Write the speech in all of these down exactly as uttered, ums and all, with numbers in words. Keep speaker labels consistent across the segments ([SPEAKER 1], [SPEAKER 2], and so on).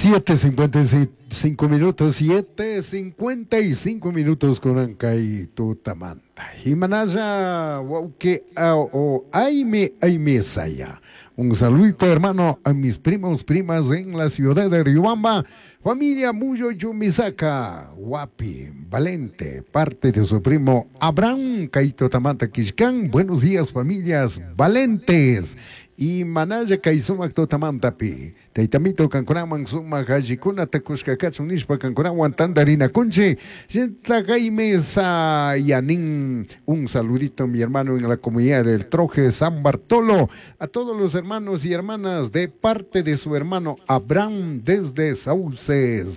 [SPEAKER 1] Siete cincuenta y cinco minutos, siete cincuenta y cinco minutos con Ancay Tutamanta. Y manaya, que o aime, aime saya. Un saludito, hermano, a mis primos, primas en la ciudad de Riobamba. Familia Muyo Yumisaka, Guapi, Valente, parte de su primo Abraham Kaito Tamanta Quishcán. Buenos días, familias valentes. Y manaya kay sumak tutamantapi. Taytamito kankunaman sumak allikunata kushka kachun nishpa kankunawan tantarinakunchik. Yanin, un saludito mi hermano en la comunidad del Troje San Bartolo. A todos los hermanos y hermanas de parte de su hermano Abraham desde Sauces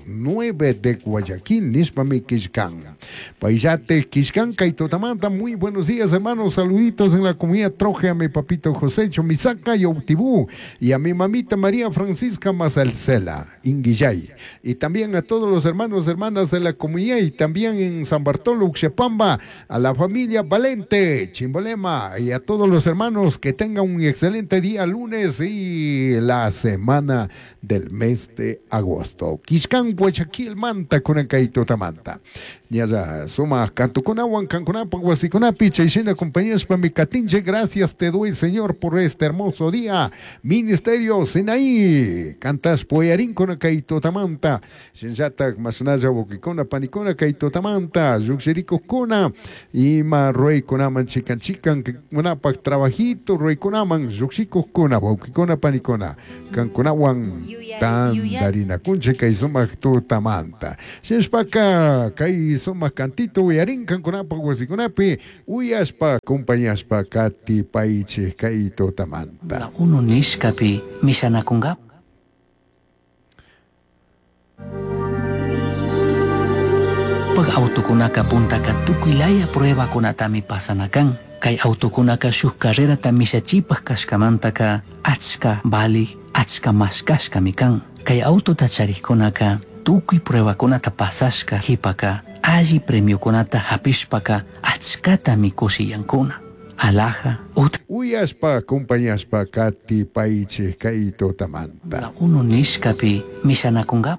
[SPEAKER 1] nueve de Guayaquil, nishpami kishkan. Payllate kishkan kay tutamanta. Muy buenos días, hermanos. Saluditos en la comunidad Troje a mi papito José Chomisaca y Autibú, y a mi mamita María Francisca Mazalcela, Inguillay, y también a todos los hermanos y hermanas de la comunidad, y también en San Bartolo, Uxepamba, a la familia Valente, Chimbolema, y a todos los hermanos que tengan un excelente día lunes y la semana del mes de agosto. Quiscan, Guayaquil, Manta, Curancaito, Tamanta. Ya suma kantukunawan kankunapaq wasikunapi chayshina compañías pa mi katinche, gracias te doy, Señor, por este hermoso día. Ministerio Sinaí, cantas poyarín con kaito tamanta, shinllatak masnalla wawkikuna panikuna kaito tamanta, lluqshirikuqkuna ima ruaykunaman chikan chikan kunapak trabajito ruaykunaman lluqshikuqkuna wawkikuna panikuna kankunawan tantarinakunchik kay sumaq tutamanta. Shinshpaka kay sumaq cantito uyarin kankunapaq wasikunapi uyashpa acompañashpa katipaychik kay tutamanta.
[SPEAKER 2] Uno nishkapi mishanakunga. Pag autokunaka puntaka tukuylaya pruebakunatami pasanakan. Kay autokunaka shuk carrerata mishachipaj kashkamantaka achka valik, achka mashkashkami kan. Kay autota charikkunaka tukuy pruebakunata pasashka hipaka alli premiokunata hapishpaka achkatami kushiyankuna. Alaja, ut
[SPEAKER 1] uyashpa acompañashpa katipaychik kay tutamanta.
[SPEAKER 2] Uno nishkapi mishanakunga.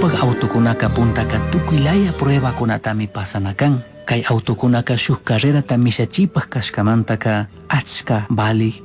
[SPEAKER 2] Pag autokunaka puntaka tukuylaya pruebakunatami pasanakan. Kay autokunaka shuk carrerata mishachipaj kashkamantaka achka valik,